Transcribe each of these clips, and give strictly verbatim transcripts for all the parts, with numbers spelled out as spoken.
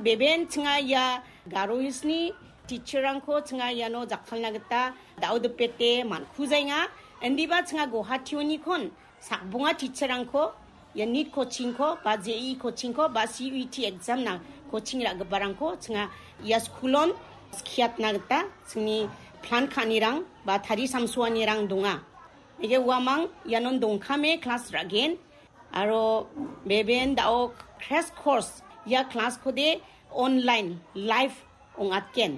Beben chinga ia Garo Hillsni teacherrangko chinga iano jakkalna gita dao dipete man·kujaenga. Indiba chinga Guwahati-onikon sakbonga teacherrangko ia NEET coachingko ba J E E coachingko ba C U E T examna coaching ra·giparangko chinga ia skulon skiatna gita chingni plan ka·anirang ba tarisamsoanirang donga. Neke uamang ianon dongkame class ra·gen. Aro beben dao crash course ia class-kode online live ong·atgen.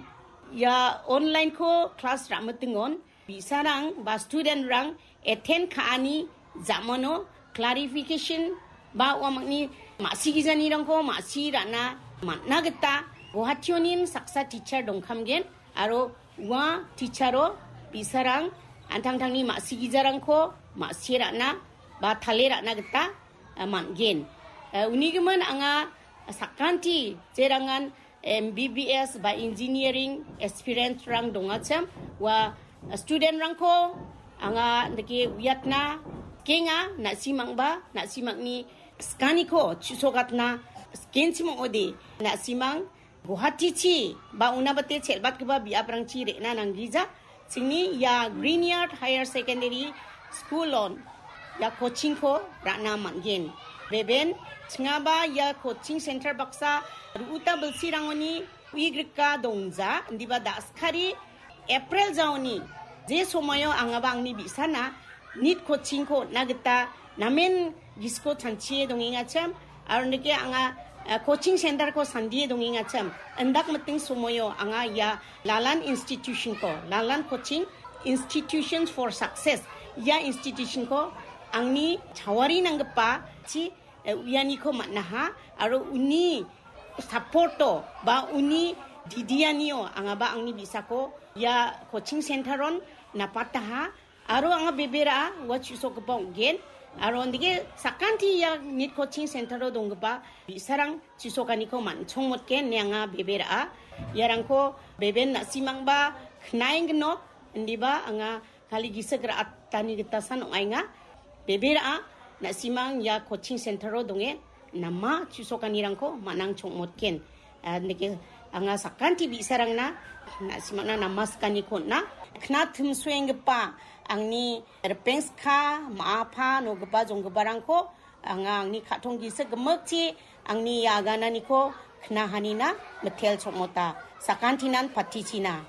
Ia online-ko class ra·mitingon bi·sarang ba student-rang attend ka·ani ja·mano clarification ba uamangni ma·sigijanirangko ma·si ra·na man·na gita Guwahati-onim saksa teacher dongkamgen. Aro ua teacher-o bi·sarang an·tangtangni ma·sigijarangko ma·sie ra·na ba tale ra·na gita, eh, man·gen. Eh, unigimin anga sakanti jerangan M B B S ba engineering aspirant-rang dongachim, ua student-rangko anga dake uiatna kenga, na·simangba, na·simangni skaniko chu·sokatna skenchim ong·ode, na·simang Guwahatichi ba unabate chelbatgipa biaprangchi re·na nanggija. Chingni ia Greenyard Higher Secondary School-on ia coaching-ko ra·na man·gen. Beben chingaba ia coaching center baksa ru·uta bilsirangoni uigrika dongja, indiba da·skari April jaoni je somoio angaba angni bi·sana NEET coaching-ko on·na gita namen gisiko chanchie dongengachim, aro nike anga, eh, coaching center-ko sandie dongengachim, indak miting somoio anga ia Lalan institution-ko, Lalan Coaching Institutions for Success, ia institution-ko angni chawari nanggipa chi, eh, uianiko man·aha, aro uni support-o ba uni didianio angaba angni bi·sako ia coaching center-on napataha. Aro anga bebera ua chu·sokgipa ong·gen. Aro ondike sakanti ia NEET coaching center-o donggipa bi·sarang chu·sokaniko man·chongmotgen ine anga bebera. Iarangko beben na·simangba knaengginok indiba anga kali gisik ra·atani gitasan ong·aenga. Bebera na·simang ia coaching center-o donge nama chu·sokanirangko man·ang chongmotgen. Ah, nike anga sakanti bi·sarangna na·simangna nama sikaniko on·a. Kna timsoenggipa angni ripengska, ma·apa, nogipa, jonggiparangko anga angni ka·tong gisik gimikchi angni ia agananiko knahanina mitel chongmota. Sakantinan patichina.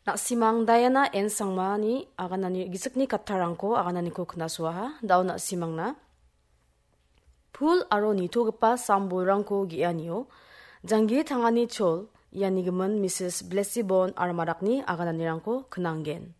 Na·simang Diana N Sangmani aganani gisikni kattarangko agananiko knasuaha. Dao na·simangna pul aro nitogipa sam-bolrangko ge·anio janggi tangani chol ianigimin Misis Blessibon aro Marakni agananirangko knanggen.